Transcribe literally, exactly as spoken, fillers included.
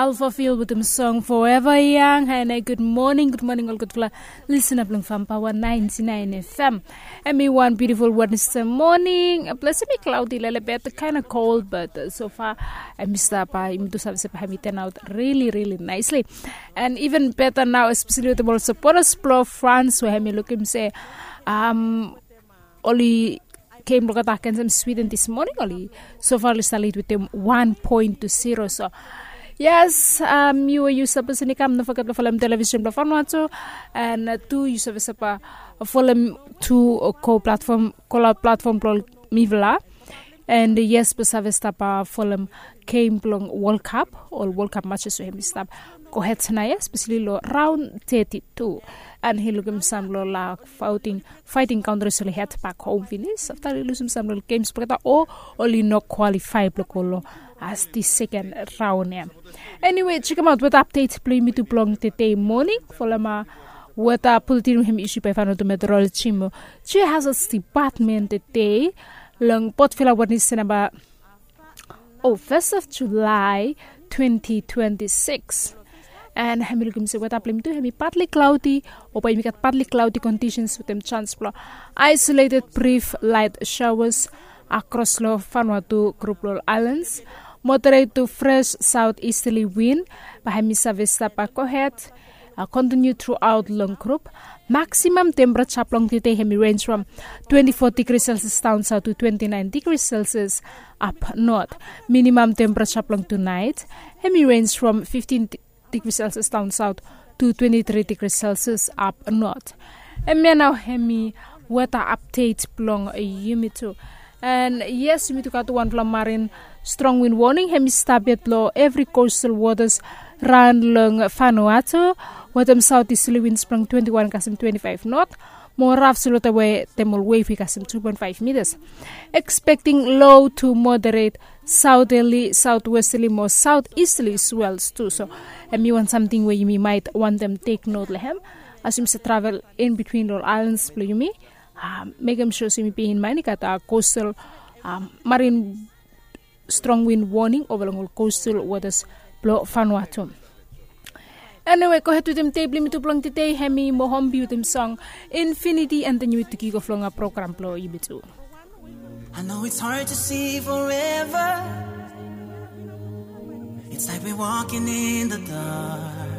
Alpha Field wetem song Forever Young. Hi, hi, good morning, good morning ol gudfala lisena blong Farm Power ninety nine F M. Hemi wan beautiful Wednesday morning. Bless, hemi cloudy lelebet, kind of cold, but uh, so far hemi stap, uh, yumi tu save se bae hemi turn out really, really nicely. And even better now, especially wetem ol supporters blong France, we hemi lukim se um, oli game blong olgeta agensem Sweden this morning, oli so far oli stap lead wetem one point to zero. So yes, um, yu we yu sapos oli kam, no foget blong folem television blong Vanuatu, and uh, tu yu save sapa folem tu uh, ko platform, ko laut platform blong mifala. And uh, yes, blong save stap uh, folem game blong World Cup, ol World Cup matches we hemi stap gohed nao ya, especially long round thirty-two. And hemi lukim sam long la fighting, fighting countries oli head back home finis afta oli lusum sam long games blong olgeta o oli no qualify blong go long as the second round ya. Anyway, check out weather update blong yumi tu blong today morning. Folem uh, weather bulletin we hemi issue by Vanuatu Meteorology mo Geo Hazards Department today long Port Vila, Wednesday, namba oh, first of July twenty twenty-six. And hemi lukim se weather blong yumi tu hemi partly cloudy, o bae yumi gat partly cloudy conditions wetem chance blong isolated brief light showers across long Vanuatu group long islands. Moderate to fresh southeasterly wind bae hemi save stap gohed, uh, continue throughout long group. Maximum temperature blong today hemi range from twenty-four degrees Celsius down south to twenty-nine degrees Celsius up north. Minimum temperature blong tonight hemi range from fifteen degrees Celsius down south to twenty-three degrees Celsius up north. Hemia nao hemi weather update blong yumi tu. And yes, yumi tu gat wanfala marine strong wind warning hemi stap yet long evri coastal waters raon long Vanuatu, wetem southeasterly winds blong twenty-one kasem twenty-five knot, mo raf slow tawe dem ol wave i kasem two point five meters. Expecting low to moderate southerly, southwesterly mo southeasterly swells tu. So hemi wan samting we yumi maet wantem take note long hem as yumi save travel in between ol islands blong yumi. Um, mekem sure se yumi bear in mind i gat coastal, um, marine strong wind warning ova long ol coastal waters blong Vanuatu. Anyway, gohed wetem dei blong yumi tu blong today, hemi Mohombi wetem song Infinity, and then yumi tu kick off long a program blong yumi tu. I know it's hard to see forever. It's like we're walking in the dark.